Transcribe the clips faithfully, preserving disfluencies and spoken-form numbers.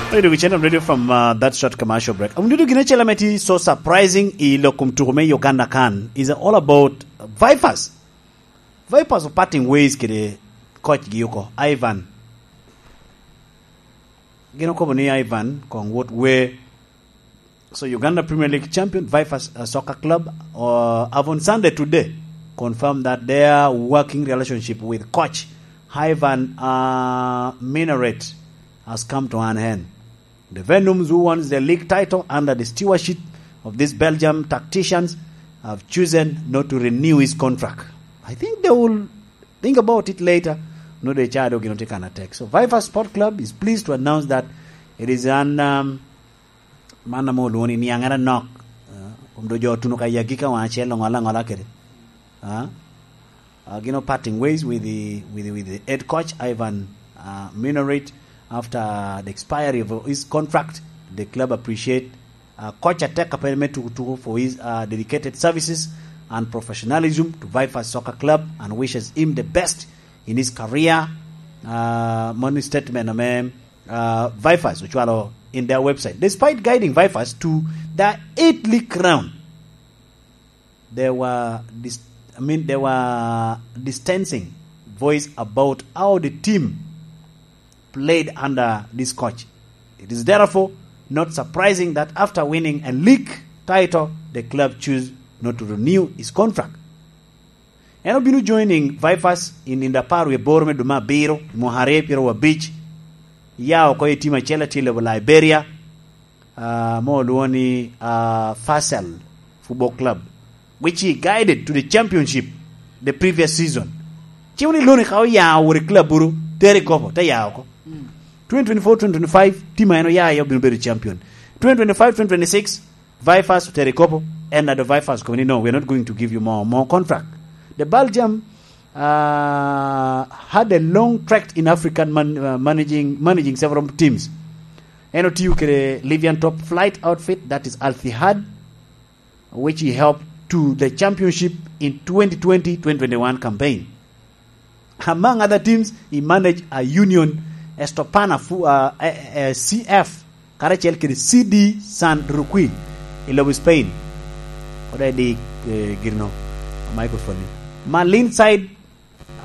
Hey, dog channel radio from uh, that short commercial break. I'm doing gine chela meti so surprising i lokum tuku me Uganda kan is all about Vipers. Vipers are parting ways kede coach gi oko, Ivan. Gino kobo ni Ivan kong wot we. So Uganda Premier League champion Vipers uh, Soccer Club uh, have on Sunday today confirmed that their working relationship with coach Ivan uh, Minaret has come to an end. The Venums, who won the league title under the stewardship of these Belgium tacticians, have chosen not to renew his contract. I think they will think about it later. No, they charge you know, take an attack. So Viper Sport Club is pleased to announce that it is an um, man mo luni ni angera nok. Uh, Kum do jo tuno ka yagi ka wan acel ngola ngola kede. Uh, uh, you know, parting ways with the with the, with the head coach Ivan uh, Minorit after the expiry of his contract. The club appreciate uh, coach atek a pene me tukutuku for his uh, dedicated services and professionalism to Vipers Soccer Club and wishes him the best in his career. Uh, money statement ame uh, Vipers ocwalo in their website. Despite guiding Vipers to the eighth league round, there were dis- I mean there were distancing voice about how the team played under this coach. It is therefore not surprising that after winning a league title, the club chose not to renew his contract. En obino joining Vipers in in dapar wie boro me dwe me abiro, mwaka aryo pyero abic. Ya oko i tim acel tye i lobo Liberia, uh, mo olwongo ni uh, Fasel Football Club, which he guided to the championship the previous season. Ci wun iloni ka oya wot i club buru teri kopo te ya oko. twenty twenty-four twenty twenty-five team a en oya aye obino bedo champion. Twenty twenty-five twenty twenty-six Vipers otero i kopo, and the Vipers coming no, we're not going to give you more more contract. The Belgium uh, had a long track in African man, uh, managing managing several teams. En otiyo kede Libyan top flight outfit, that is Al Ittihad, which he helped to the championship in twenty twenty twenty twenty-one campaign. Among other teams, he managed a Union Estopana fu- uh, a, a C F karacel kede C D San Roque i lobo Spain. Kod edi eh, girino microphone ni. Malin side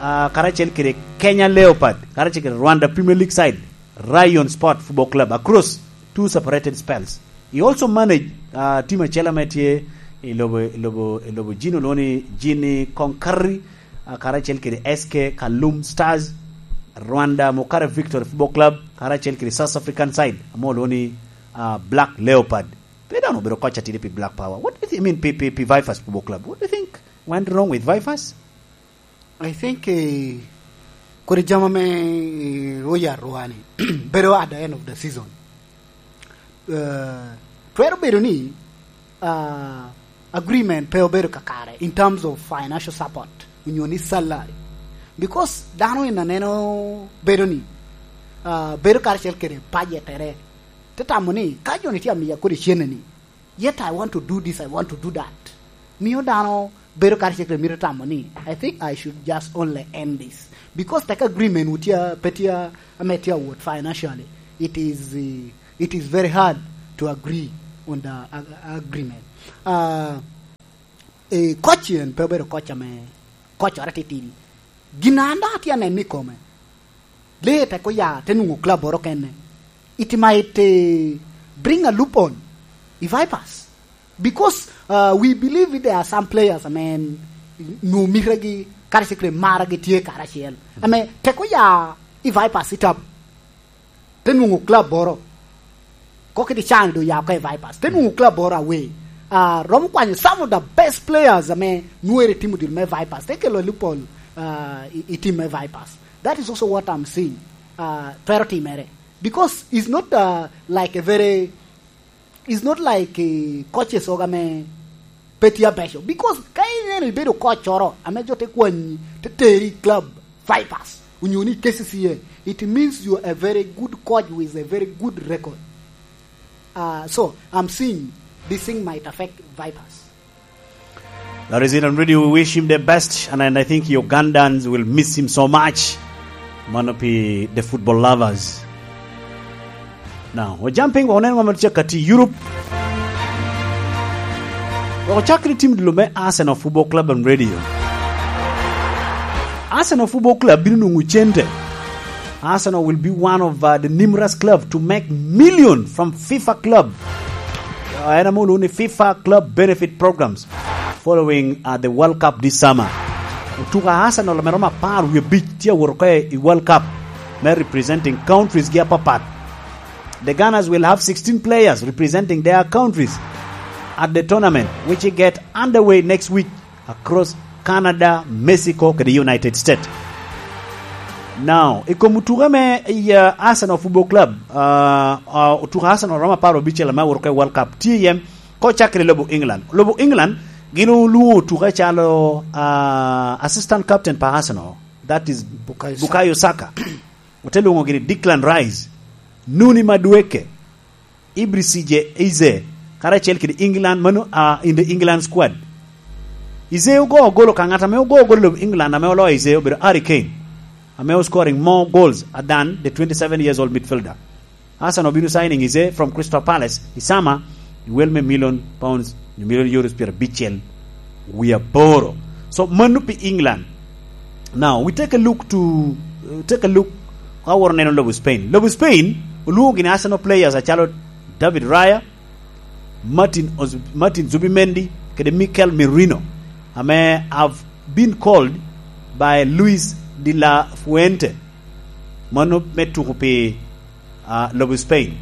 uh, karacel kede Kenya Leopard karacel kede Rwanda Premier League side Rayon Sport Football Club across two separated spells. He also managed uh, team acel ame tye i lobo i lobo i lobo Gino loni Gini Konkari uh, karacel kede S K Kalum Stars, Rwanda Mukare Victory Football Club karacel kede South African side amo loni uh, Black Leopard. Pe dano obedo koc atidi pi Black Power. What do you think? I mean, pi, pi, pi Vipers Football Club. What do you think went wrong with Vipers? I think eh, kodi jama me eh, Royal Rwani bedo at the end of the season. Uh, twero bedo ni uh, agreement pe obedo kakare in terms of financial support onyo ni salary, because dano in aneno bedo ni uh, bedo karacel kede pajetere te tamo ni ka jo ni tye amiya kodi cene ni, yet I want to do this, I want to do that. Miyo dano bedo karacel kede mito tamo ni I think I should just only end this, because teko agreement wu tye pe tye ame tye awot financially, it is uh, it is very hard to agree on the ag- agreement. Uh, e, koc en pe obedo koc ame kocere titidi. Gin an dok atye aneno i kome, lee teko ya te nwoŋo club oro kene, it might eh, bring a loophole i Vipers, because uh, we believe there are some players ame nwoŋo mitegi karacel kede maragi tye karacel, ame teko ya i Vipers itab te nwoŋo club oro. Ko kiti can do ya oko i Vipers te nwoŋo club oro away. Uh, romo kwanyo some of the best players ame nwere timo dil me Vipers te kelo lupol uh, i, i team me Vipers. That is also what I'm seeing uh, twero timere, because it's not uh, like a very it's not like uh, coaches oga me pe tye abeco, because ka ineno ibedo koccoro ame jo te kwanyi te teri i club Vipers onyo ni K C C A, it means you are a very good coach with a very good record. Uh, so I'm seeing this thing might affect Vipers. That is it, and really we wish him the best, and, and I think Ugandans will miss him so much. Mano pi the football lovers. Now, ojam piny wok onen ŋo ma tye ka ti i Europe. Wok ocak kede tim dilo me Arsenal Football Club and Radio. Arsenal Football Club bino nwoŋo cente. Arsenal will be one of, uh, the numerous club to make million from FIFA club. Uh, en ame olwoŋo ni FIFA Club Benefit Programs following, uh, the World Cup this summer. Otuko a Arsenal ame romo apar wie abic tye awot oko i World Cup me representing countries gi apapat. The Gunners will have sixteen players representing their countries at the tournament, which will get underway next week across Canada, Mexico, kede United States. Now, i kom otuke me i, uh, Arsenal Football Club, uh, uh, otuke Arsenal romo apar abicel ame awot oko i World Cup, tye iye ka ocakere i lobo England. Lobo England, gin olwoŋo otuke calo, uh, assistant captain pa Arsenal, that is Bukayo Saka. Bukayo Saka. Ote lwoŋo gini Declan Rice, Nuni Madueke, Ibrahim Eze, karacel kede England, mano, ah, in the England squad. Eze ogo golo ka ŋat ame ogo golo England ame oloyo Eze obedo Harry Kane, ame o scoring more goals than the twenty-seven years old midfielder. Arsenal obino signing Eze from Crystal Palace i summer, i wel me million pounds, nyo million euros pyerabicel wie aboro. So, mano pi England. Now, we take a look to, take a look, ka woro neno lobo Spain. Lobo Spain, olwoŋo gini Arsenal players acalo David Raya, Martin Oz-, Martin Zubimendi, kede Mikel Merino, ame have been called by Luis de la Fuente. Mano me tuko pi, ah, lobo Spain.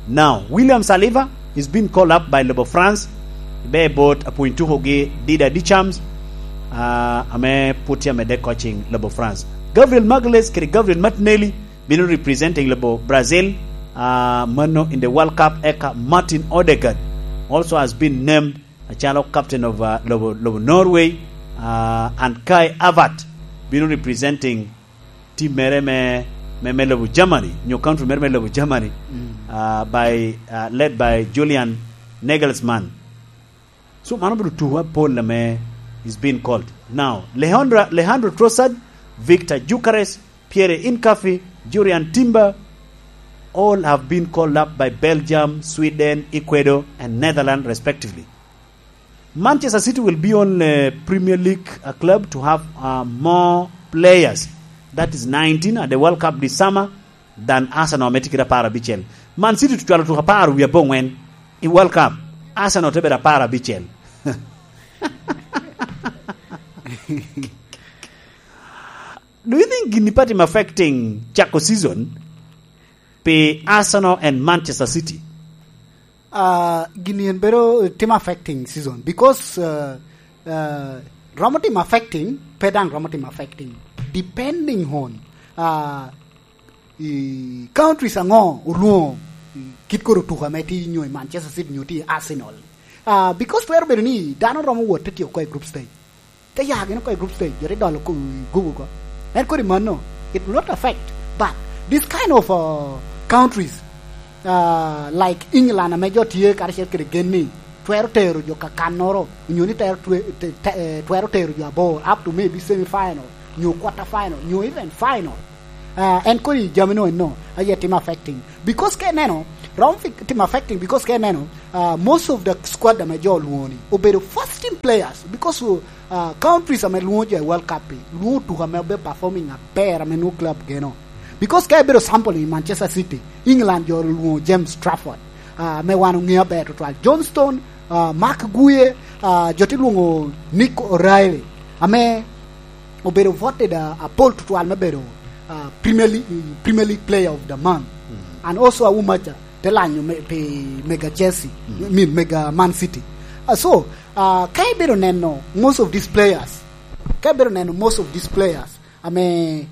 Now, William Saliba is being called up by lobo France. Be bot apwony tuko gi Didier Deschamps, ah, ame put tye amedde coaching lobo France. Gabriel Magalhaes kede Gabriel Martinelli bino representing lobo Brazil, ah, mano in the World Cup. Eka Martin Odegaard also has been named acalo captain of, uh, lobo, lobo Norway, uh, and Kai Havertz bino representing team mere me, me, me lobo Germany, nyo country mere me lobo Germany, uh, by, uh, led by Julian Nagelsmann. So, mano obedo tuko apol ame is being called. Now, Leandro, Leandro Trossard, Victor Gyökeres, Pierre Hincapié, Jurrien Timber, all have been called up by Belgium, Sweden, Ecuador, and Netherlands, respectively. Manchester City will be only Premier League, uh, club to have, uh, more players, that is nineteen, at the World Cup this summer, than Arsenal ame tye kede apar abicel. Man City ocwalo tuko apar wie aboŋwen i World Cup. Arsenal te bedo apar abicel. Do you think gini pa tim affecting cako season pi Arsenal and Manchester City? Ah, gini en bedo tim affecting season because, uh, uh, romo tim affecting, pe daŋ romo tim affecting, depending on, uh, i countries aŋo olwoŋo, i kit kor otuko ame tye nyo i Manchester City nyo tye i Arsenal. Ah, because twero bedo ni dano romo wot te tyeko oko i group stage. Te ya gin oko i group stage, jo te dolo ko-, i gubo oko. En kodi mano, it will not affect. But this kind of, uh, countries, uh, like England, ame jo tye karacel kede gen ni twero tero jo kakannoro, nyo ni tero twe-, te-, te-, eh, twero tero jo abor up to maybe semi final, nyo quarter final, nyo even final. Uh, en kodi jami no eno, aye tim affecting. Because ke neno, round fi-, tim affecting because ke neno, uh, most of the squad ame jo olwoŋo ni obedo first team players because, uh, countries ame lwoŋo jo i World Cup-pi, lwoŋo tuko ame obe performing aber ame nwoŋo club geno. Because ka ibedo sample i Manchester City, England jo olwoŋo James Trafford, uh, ame wan oŋeo aber tutwal. John Stone, uh, Marc Guehi, uh, jo te lwoŋo Nick O'Reilly, ame obedo voted, uh, apol tutwal me bedo, uh, Premier League, Premier League Player of the Month. Mm. And also Aumacha te lanyo me, pi mega Chelsea, mm, I mean, mega Man City. Uh, so, uh, ka ibedo neno most of these players, ka ibedo neno most of these players, ame,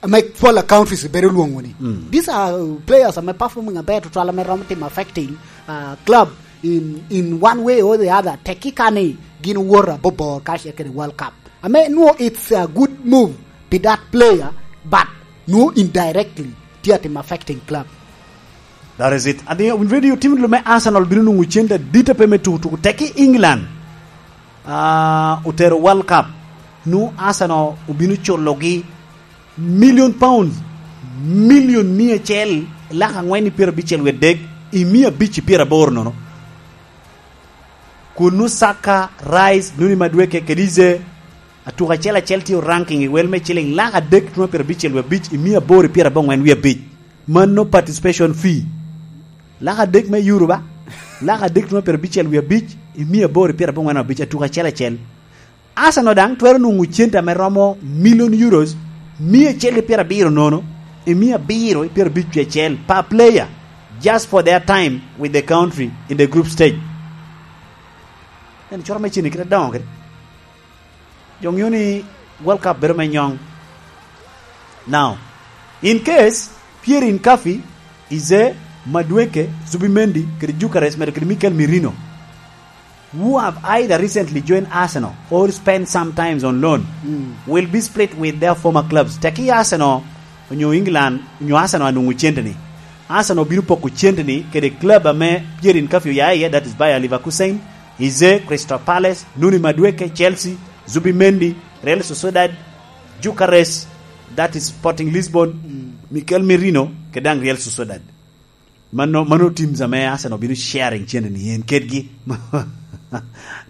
ame football countries bedo lwoŋo ni. Mm. These are players ame performing aber tutwal ame romo timo affecting, uh, club in, in one way or the other. Tekki ka ni gin owoto abobor ka ce kede World Cup. Ame nwo it's a good move pi that player, but nwo indirectly tye atim affecting club. That is it. Adi, owinjo ni tim lume Arsenal bino nwoŋo cente adit ape me tuko tuko. Tekki England, ah, otero World Cup. Nu Arsenal obino culogi million pounds, million mia acel lak angwen i pyerabicel wie adek i mia abic i pyeraboro nono. Kun nu Saka, Rice, Nuni Madweke kede Ize, atuka acel acel tye oranking i wel me ciling lak adek tuno pyerabicel wie abic i mia aboro i pyerabongwen wie abic. Mano participation fee. Lak adek me euro ba? Lak adek tuno pyerabicel wie abic i mia aboro i pyerabongwen abic, atuka acel acel. Arsenal daŋ twero nwoŋo cente ame romo million euros mia acel ki pyerabiro nono i mia abiro i pyerabicel acel per player, just for their time with the country in the group stage. En coro me cene kite doŋo kede. Jo ŋeo ni World Cup bedo me nyoŋ. Now, in case Pierre Nkafi, Ize, Madweke, Zubimendi, kede Gyökeres, medo kede Mikel Merino, who have either recently joined Arsenal or spent some times on loan, mm, will be split with their former clubs. Teki Arsenal, onyo England, onyo Arsenal anwoŋo centeni. Arsenal bino poko centeni kede club ame Pierre Nkafi oya iye, that is Bayer Leverkusen, Ize, Crystal Palace, Nuni Madweke, Chelsea, Zubimendi, Real Sociedad, Gyökeres, that is Sporting Lisbon, mm, Mikel Merino, kede daŋ Real Sociedad. Mano, mano teams ame Arsenal bino sharing centeni en kedgi.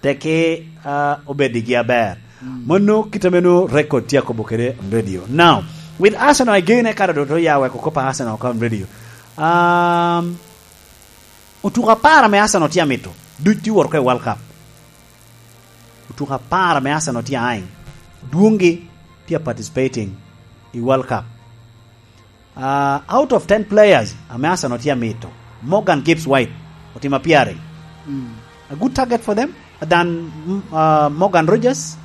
Teki, ah, obedigi aber. Mm. Mano kit ame nwoŋo record tye akobo kede on radio. Now, with Arsenal again, eka dodo ya weko kop a Arsenal oko on radio. Um, otuko apar ame Arsenal tye amito, duc tye wot oko i World Cup. Otuko apar ame Arsenal tye aŋ, dwoŋgi tye a participating i World Cup. Uh, out of ten players ame Arsenal tye amito, Morgan Gibbs White otimo apyere. Mm. A good target for them than, mm, uh, Morgan Rogers.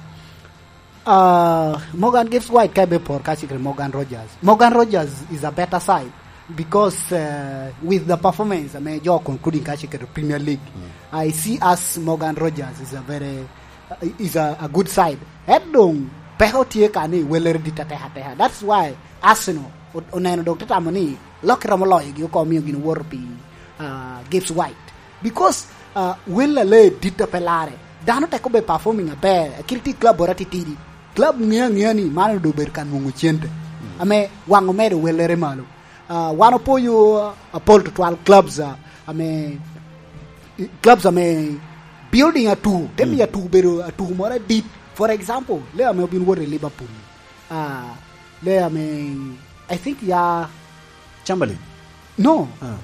Uh, Morgan Gibbs White ka ebe por ka cikre Morgan Rogers. Morgan Rogers is a better side because, uh, with the performance ame jo concluding ka cikre Premier League, mm, I see as Morgan Rogers is a very, uh, is a, a good side. Et doŋ peko tye ka ni welere dit atek ateka. That's why Arsenal o-, oneno dok te tamo ni lok romo loyogi oko, omio gin owoto pi, ah, Gibbs White. Because, ah, wel a lee dit a pe larre, dano tek obedo performing aber, akil tye i club boro atitidi. Club ŋeo aŋea ni man onwoŋo obedo ka nwoŋo cente. Mm. Ame waŋ omedo welere malo. Ah, wan opoyo, ah, apol tutwal clubs, ah, ame, clubs ame building atuku, te miyo, mm, atuku bedo atuku moro adit. For example, lee ame obin wot i Liverpool. Ah, lee ame, I think ya Chamberlain? No. Ah.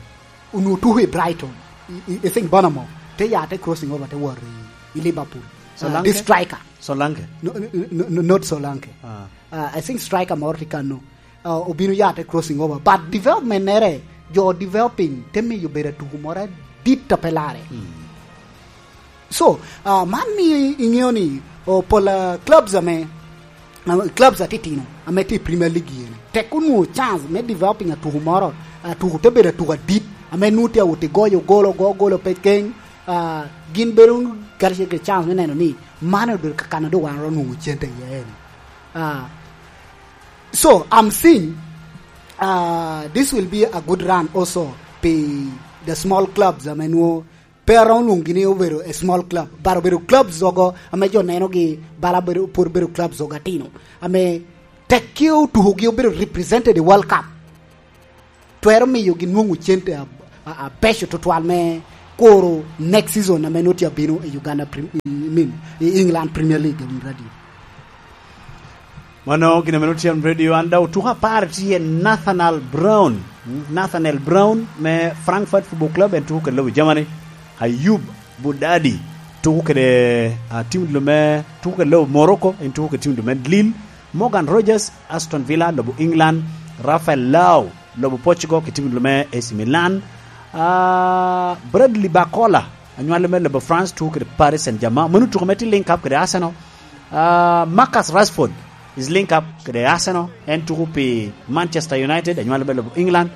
Onwoŋo tuko i Brighton. I, i, I think Bournemouth. Te ya te crossing over te wot i, i Liverpool. Ah, Solanke? This striker. Solanke? No, no, no, no, not Solanke. Ah. Ah, I think striker moro tye kano. Ah, obino ya te crossing over. But development nere, jo developing, te miyo bedo atuku moro adit a pe larre. Mm. So, ah, man miyo i-, iŋeo ni, oh, pol, ah, clubs ame, ah, clubs atitino ame tye i Premier League eni, tek onwoŋo chance me developing atuku moro, atuku te bedo atuku adit, ame nwoŋo tye awot i goyo golo, go golo pe keny, ah, gin bedo karacel kede chance me neno ni man obedo kakano dok wan oro nwoŋo cente iye eni. Ah, so, I'm seeing, ah, this will be a good run also pi the small clubs ame nwoŋo pe aromo lwoŋogi ni obedo a small club, but obedo clubs ogo ame jo nenogi bala bedo, pwod obedo clubs ogo atino, ame tekki otukogi obedo represented i World Cup, twero miyogi nwoŋo cente a-, a-, abeco tutwal me kuro next season ame nwoŋo tye abino i Uganda Prem-, I mean, i England Premier League, I mean, radio. Mano gin ame nwoŋo tye on radio, an daŋ otuko apar tye Nathaniel Brown. Mm, Nathaniel Brown me Frankfurt Football Club, en tuko kede lobo Germany. Ayub Budadi tuko kede, ah, tim dilo me, tuko kede lobo Morocco, en tuko kede tim dilo me Lille. Morgan Rogers, Aston Villa, lobo England. Rafael Leao, lobo Portugal, kede tim dilo me A C Milan. Ah, Bradley Barcola, anywale me lobo France, tuko kede Paris Saint-Germain. Mano tuko ame tye link up kede Arsenal. Ah, Marcus Rashford is link up kede Arsenal. En tuko pi Manchester United, anywale me lobo England.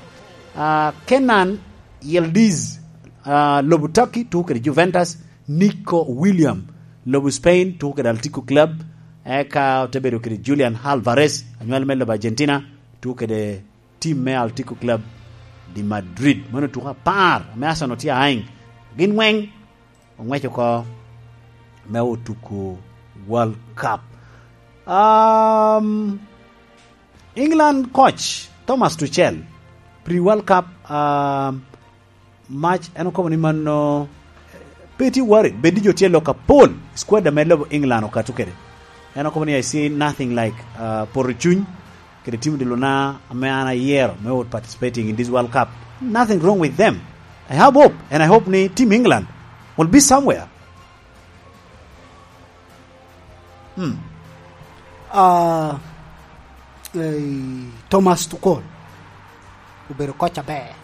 Ah, Kenan Yildiz, ah, lobo Turkey, tuko kede Juventus. Nico William, lobo Spain, tuko kede Atletico Club. Eka ote bedo kede Julian Alvarez, anywale me lobo Argentina, tuko kede tim me Atletico Club de Madrid. Mano tuko apar ame Arsenal tye aŋ. Gin weng oŋwec oko me otuko World Cup. Um, England coach Thomas Tuchel, Ri World Cup, ah, match, en okobo ni mano, pe tye worried, bed ni jo tye lok apol, squad ame lobo England okato kede. En okobo ni, "I see nothing like, ah, poto cuny kede team de luna ame an ayero me wot participating in this World Cup. Nothing wrong with them. I have hope, and I hope ni team England will be somewhere." Hmm. Ah, eh, Thomas Tuchel obedo coach aber.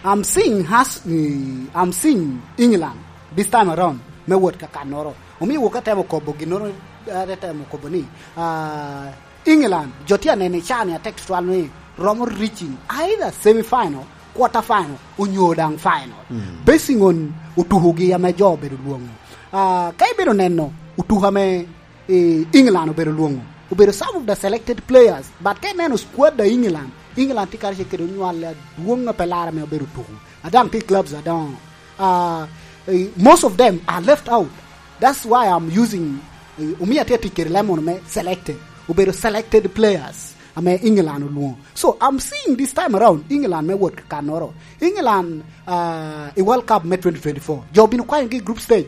I'm seeing has, eh, I'm seeing England this time around me wot ka kannoro. Omio wok atemo kobo ginnoro, eh, atemo kobo ni, ah, England, jo tye anene i caa ni atek tutwal ni romo reaching either semi final, quarter final, onyo daŋ final. Mm. Basing on otukogi ame jo obedo lwoŋo. Ah, ka ibedo neno otuko ame, eh, England obedo lwoŋo, obedo some of the selected players, but ka ineno squad a England, England tye karacel kede onywal adwoŋ a pe laro ame obedo tuko. A daŋ tye clubs adoŋo. Ah, eh, most of them are left out. That's why I'm using, eh, omio atye tic kede lemon me selected. Obedo selected players ame England olwoŋo. So, I'm seeing this time around, England me wot ka kannoro. England, ah, i World Cup me twenty twenty-four, jo obino kwanyogi i group stage.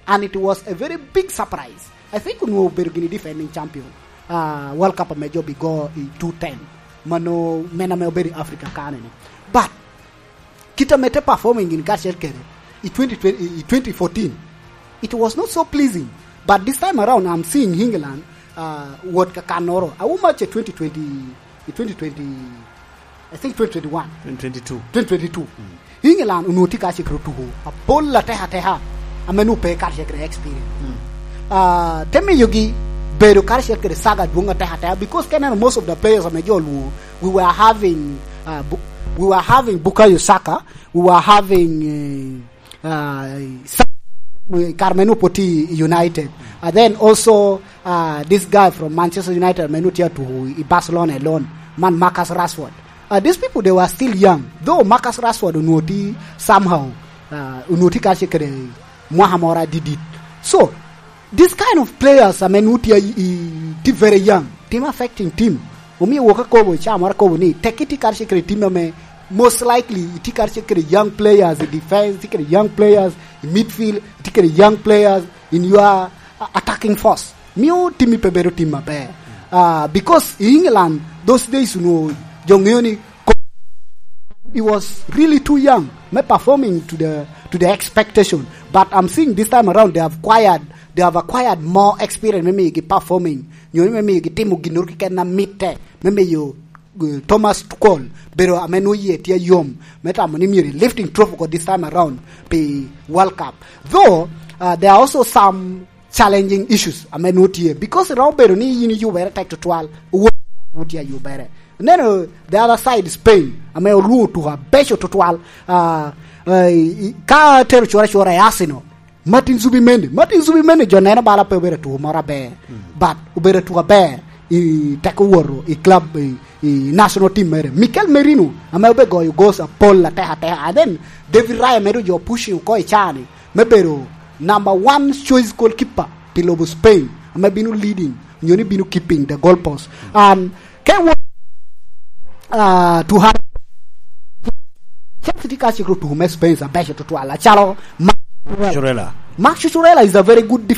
And it was a very big surprise. I think onwoŋo obedo gini defending champion, ah, World Cup ame jo obigo i two ten. Mano, men ame obedo i Africa kanene. But kit ame te performing in karacel kede i twenty twenty, i twenty fourteen, it was not so pleasing. But this time around, I'm seeing England, uh, wot ka kannoro. Awo match e twenty twenty, i twenty twenty, I think twenty twenty-one. Twenty twenty-two. Twenty twenty-two. Mm. England onwoŋo tye karacel kede otuko apol atek ateka, ame nwoŋo pe karacel kede experience. Mm. Ah, te miyogi bedo karacel kede saga adwoŋ atek ateka, because ka ineno most of the players ame jo olwoŋo, we were having, ah, Bu-, we were having Bukayo Saka, we were having, eh, ah, Sa-, kare me nwoŋo pwod tye i United. And then also, ah, this guy from Manchester United ame nwoŋo tye atuko i Barcelona alone, man Marcus Rashford. Ah, these people, they were still young. Though Marcus Rashford onwoŋo tye somehow, ah, onwoŋo tye karacel kede mwaka moro adidit. So, this kind of players ame nwoŋo tye i, i, tye very young, timo affecting team. Omio wok akobo, ca moro akobo ni, tekki tye karacel kede team ame most likely itye karacel kede young players i defense, itye kede young players i midfield, itye kede young players in your, uh, attacking force. Mio team-mi pe bedo team maber. Uh, because i England, those days, you know, jo ŋeo ni It was really too young me performing to the, to the expectation. But I'm seeing this time around they have acquired, they have acquired more experience me miyogi performing, nyo me miyogi timo ginnoro keken a mitte, me miyo, uh, Thomas Tuchel bedo ame nwoŋo yie tye yom me tamo ni myero lifting trophy ko this time around pi World Cup. Though, uh, there are also some challenging issues ame nwoŋo tye, because romo bedo ni yin iyubere tek tutwal, owor nwoŋo tye ayubere. Neno the other side, Spain, ame olwoŋo tuko abeco tutwal. Ah, eh, i, ka tero cura cura i Arsenal, Martin Zubimendi, Martin Zubimendi jo neno bala pe obedo atuko moro aber, mm, but obedo atuko aber i tek owoto i club, i, i national team mere. Mikel Merino, ame obe goyo goals apol atek ateka, and then David Raya medo jo pushing oko i caa ni, me bedo number one choice goalkeeper pi lobo Spain, ame bino leading, nyo ni bino keeping the goalpost. And ke wo-, uh, to have Chelsea tye ka cik otuko me Spain abeco tutwal, acalo Marc Cucurella. Marc Cucurella is a very good